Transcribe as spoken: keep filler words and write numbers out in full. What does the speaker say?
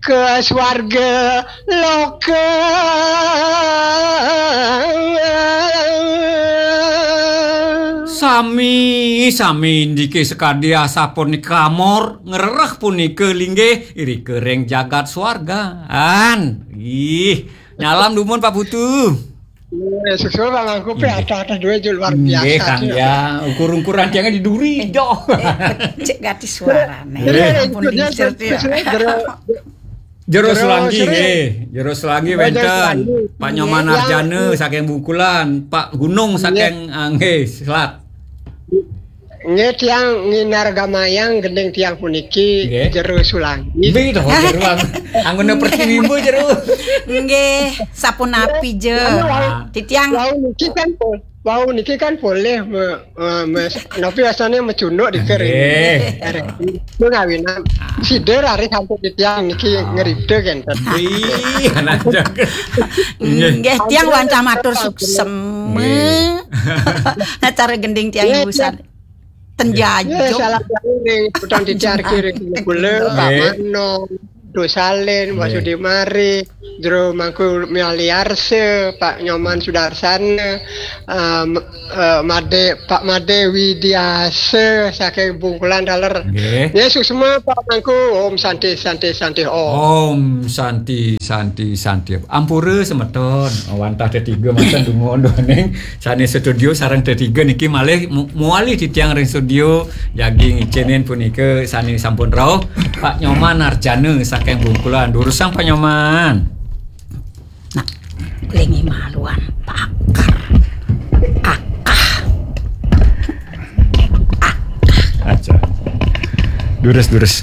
ke swarga loka. Sami, sami indike sakadi asapunika amor, ngrereh punika linggih irika ring jagat swarga. An, ih, nyalam dumun Pak Putu. Iya, suksma Pak Mangku, pe Nggih. Ada-ada duit je luar Nggih, biasa Kang, je. Ya. Ukur-ukuran tiangnya di duri, Eh, doh. Eh, cek gati suarane. Nggih. Ampun, lingsir, ya. Jero, Jero Jero Selanggi, Sri. Nggih. Jero Selanggi Oh, Jero wenten. Selanggi. Pak Nyoman Nggih, Arjana yang saking Bungkulan, Pak Gunung Nggih. Saking, ah, nggih, Selat. Nggih, tiang nginar gamayang gending tiang puniki Nggih. Jero Sulangi. Nggih, to, Jero. Anggone pertiwimbo, Jero. Nggih, sapunapi je. Anu, wau, Ah. Titiang wau niki kan po-, wau niki kan polih me-, eh, mes-, napi wasane mecunduk di kering. Nggih. Kering. Itu ngawinan. Ah. Sida raris sampun titiang niki Ah. Ngripta kenten. Ih, anak jaga. Nggih. Nggih, tiang wantah matur suksma. Nggih. Acara gending tiang Nggih, ibu tiang. San. Tenjajuk. Nggih, salam jauh ring Putan Titiar Kiri kula, Pak Nggih. Mano, Dosalin, Pak Nggih. Sudimari, Jero Mangku Mialiarse, Pak Nyoman Sudarsana, em, eh, Made, Pak Made Widiase saking Bungkulan taler. Nggih. Nggih, suksma Pak Mangku, Om Santi, Santi, Santi, Om. Om Santi, Santi, Santi. Ampura semeton, wantah tetiga mangkin dumun duaning sane studio sareng tetiga niki malih mu-, muali titiang ring studio, jagi ngicinin punika sane sampun rauh, Pak Nyoman Arjana saking Bungkulan. Durusang Pak Nyoman. Nah, lingi maluan, Pak Akar. Akah. Aja. Durus, durus.